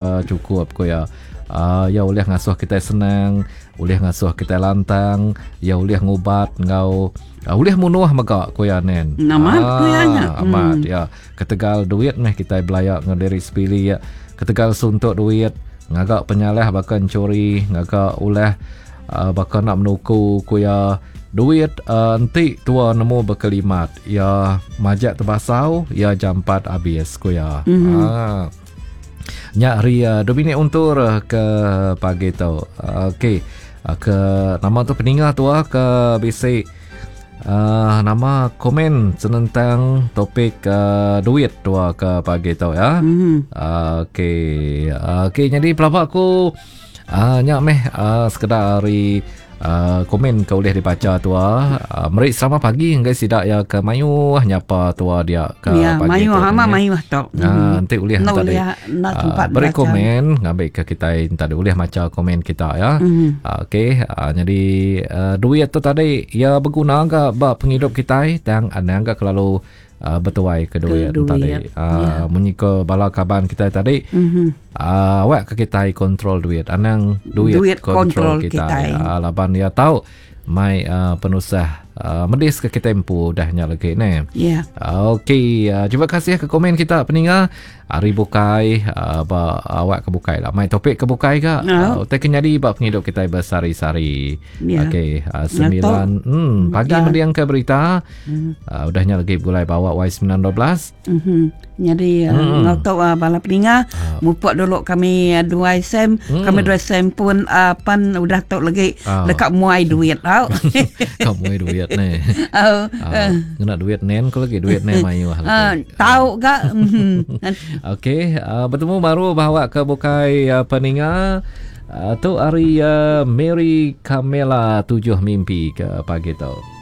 Chukup ku iya. Iya ulih ngasuh kitai senang, ulih ngasuh kitai lantang, iya ulih ngubat enggau ulih munuh mega ku iya nen. Amat ku iya nya. Amat ya. Ketegal duit meh kitai belaya enggau diri sebilik, ketegal suntuk duit ngaga penyalah baka enchuri, ngaga ulah baka enda menuku ku iya. Duit enti tua nemu bekelimat iya majak tebasau, iya jampat abis ku iya. Haa. Nya hari uh, Dominic Untur eh, ke pagi tu. Uh, Okey. Uh, ke nama tu peninga tua ke bisi uh, nama komen senentang topik uh, duit tua ke pagi tu ya. Mm-hmm. Uh, Okey. Uh, Okey jadi pelaba aku uh, nya meh uh, sekedar hari Uh, komen ke ulih dibaca tua uh, meri selamat pagi ngagai sida ya ke mayuh nyapa tua dia ke ya, pagi mayuh tu ama mayuh tu uh, enti ulih no, tadi uh, beri komen ngambi ke kitai tadi ulih maca komen kita ya mm-hmm. uh, okey uh, jadi uh, duit tu tadi ya berguna ga ba pengidup kitai tang anang ga kelalu uh, betuai ke duit, ke duit. tadi. Uh, yeah. Munyi ke bala kaban kita tadi. Mm-hmm. Uh, awak ke kita kontrol duit. Anang duit, duit kontrol kita. kita. Uh, laban dia tahu mai uh, penusah uh, medis ke kita empu dah nya lagi ne. Yeah. Uh, Okey, uh, terima kasih ke komen kita peninga. Hari bukai uh, ba awak ke bukai lah. Mai topik ke bukai ka. Uh, utai ke nyadi ba pengidup kita bersari-sari. Yeah. Okey, 9 pagi mending ke berita. Mm. Udah nya lagi begulai bawa Y912. Mm-hmm. Jadi mm. ngau tu bala peninga uh. mupuk dulu kami duai sem mm. kami duai sem pun uh, pan udah tu lagi uh. dekat muai duit tau. Kau muai duit ni. Uh. Uh, ngena duit nen ko lagi duit nen mayuh lagi. Uh, tau ga. Okey, uh, bertemu baru bawa ke bukai uh, peninga. Uh, tu hari uh, Mary Camela tujuh mimpi ke pagi tu.